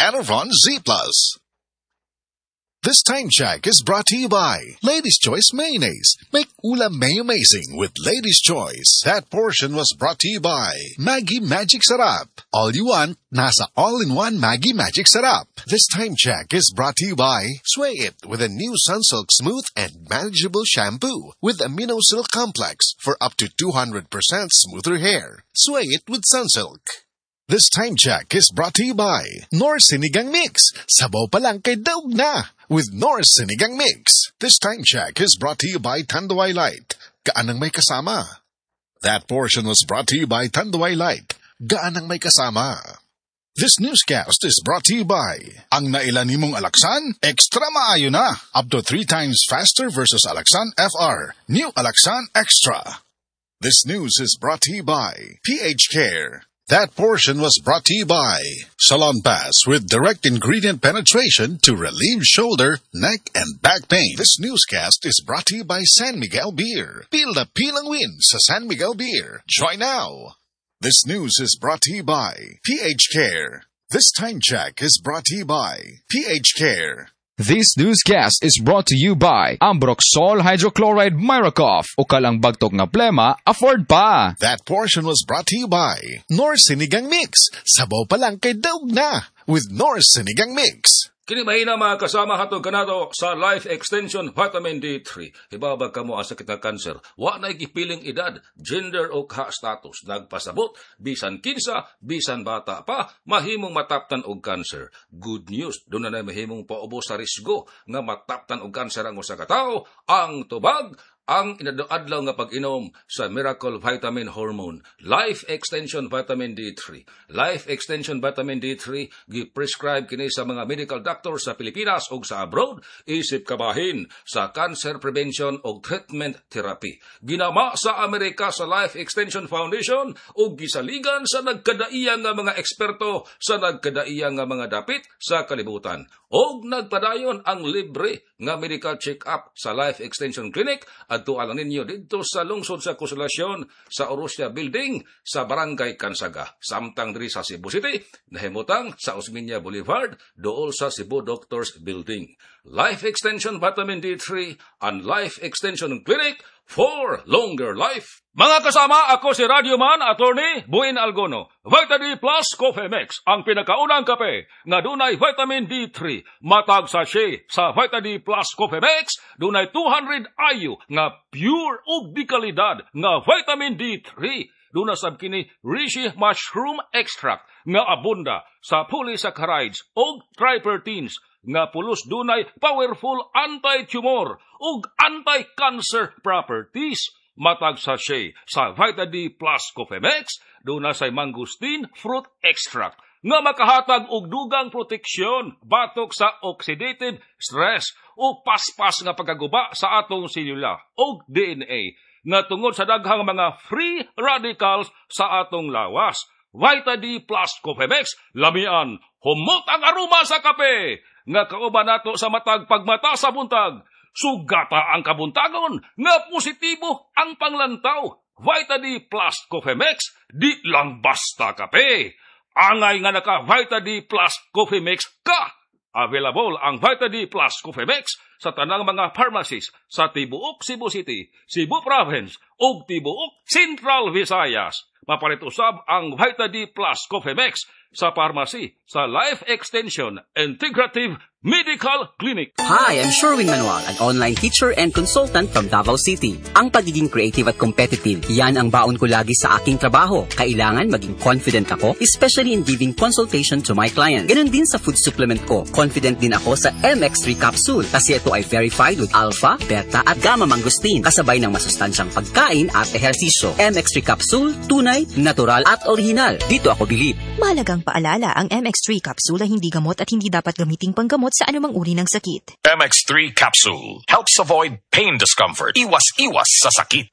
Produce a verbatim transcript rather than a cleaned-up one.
Enervon Z Plus. This time check is brought to you by Ladies Choice Mayonnaise. Make ulam may amazing with Ladies Choice. That portion was brought to you by Maggi Magic Sarap. All you want, nasa all-in-one Maggi Magic Sarap. This time check is brought to you by Sway It with a new Sunsilk Smooth and Manageable Shampoo with Amino Silk Complex for up to two hundred percent smoother hair. Sway It with Sunsilk. This time check is brought to you by Knorr Sinigang Mix. Sabaw pa lang kay daog na with Knorr Sinigang Mix. This time check is brought to you by Tanduay Light. Gaan ang may kasama. That portion was brought to you by Tanduay Light. Gaan ang may kasama. This newscast is brought to you by Ang naila nimong Alaxan, extra maayo na. Up to three times faster versus Alaxan F R. New Alaxan Extra. This news is brought to you by P H Care. That portion was brought to you by Salonpas with direct ingredient penetration to relieve shoulder, neck, and back pain. This newscast is brought to you by San Miguel Beer. Feel the pilang win sa San Miguel Beer. Join now. This news is brought to you by P H Care. This time check is brought to you by P H Care. This newscast is brought to you by Ambroxol Hydrochloride Miracoff. Ukal ang bagtok nga plema, afford pa! That portion was brought to you by Knorr Sinigang Mix. Sabaw pa lang kay daog na with Knorr Sinigang Mix. Kini mahina, mga kasama, hatod kanato sa Life Extension Vitamin D three. Hibabag kamo ang sakit nga cancer. Wa na gipiling edad, gender o ka status. Nagpasabot, bisan kinsa, bisan bata pa, mahimong mataptan og cancer. Good news, duna na mahimong paubos sa risgo nga mataptan og cancer ang usa ka tawo. Ang tubag, ang inadlaw nga pag-inom sa Miracle Vitamin Hormone, Life Extension Vitamin D three. Life Extension Vitamin D three, gi-prescribe kini sa mga medical doctor sa Pilipinas ug sa abroad, isip kabahin sa cancer prevention ug treatment therapy. Ginama sa Amerika sa Life Extension Foundation ug gisaligan sa nagkadaiya nga mga eksperto sa nagkadaiya nga mga dapit sa kalibutan. Og nagpadayon ang libre nga medical check-up sa Life Extension Clinic. Adto lang ninyo didto sa lungsod sa Konsolasyon sa Orosia Building sa Barangay Kansaga. Samtang diri sa Cebu City, nahimutang sa Osmeña Boulevard, duol sa Cebu Doctors Building. Life Extension Vitamin D three and Life Extension Clinic for longer life. Mga kasama, ako si Radio Man, Attorney Buin Algono. Vita D Plus Coffee Mix, ang pinakaunang kape nga dunay vitamin D three. Matag sachet sa Vita D Plus Coffee Mix, dunay two hundred I U nga pure ug di kalidad nga vitamin D three. Duna sab kini Reishi mushroom extract nga abunda sa polysaccharides ug triterpenes nga pulos dunay powerful anti-tumor ug anti-cancer properties. Matag sachet sa Vita D Plus Coffee Mix, duna say mangosteen fruit extract nga makahatag og dugang proteksyon batok sa oxidative stress o paspas nga pagkaguba sa atong selula og D N A nga tungod sa daghang mga free radicals sa atong lawas. Vita D Plus Coffee Mix, lamian, humot ang aroma sa kape nga kauban nato sa matag pagmata sa buntag. Sugata ang kabuntagon nga positibo ang panglantaw. Vita D Plus Coffee Mix, di lang basta kape. Angay nga naka Vita D Plus Coffee Mix ka. Available ang Vita D Plus Coffee Mix sa tanang mga pharmacies sa tibuok Cebu City, Cebu Province ug tibuok Central Visayas. Mapalit usab ang Vita D Plus Coffee Mix sa pharmacy sa Life Extension Integrative Medical Clinic. Hi, I'm Sherwin Manual, an online teacher and consultant from Davao City. Ang pagiging creative at competitive, yan ang baon ko lagi sa aking trabaho. Kailangan maging confident ako, especially in giving consultation to my client. Ganun din sa food supplement ko. Confident din ako sa M X three capsule kasi ito ay verified with alpha, beta at gamma mangosteen kasabay ng masustansyang pagkain at ehersisyo. M X three capsule, tunay, natural at original. Dito ako bilib. Mahalagang paalala, ang M X three capsule ay hindi gamot at hindi dapat gamiting panggamot sa anumang uri ng sakit. M X three Capsule helps avoid pain discomfort. Iwas-iwas sa sakit.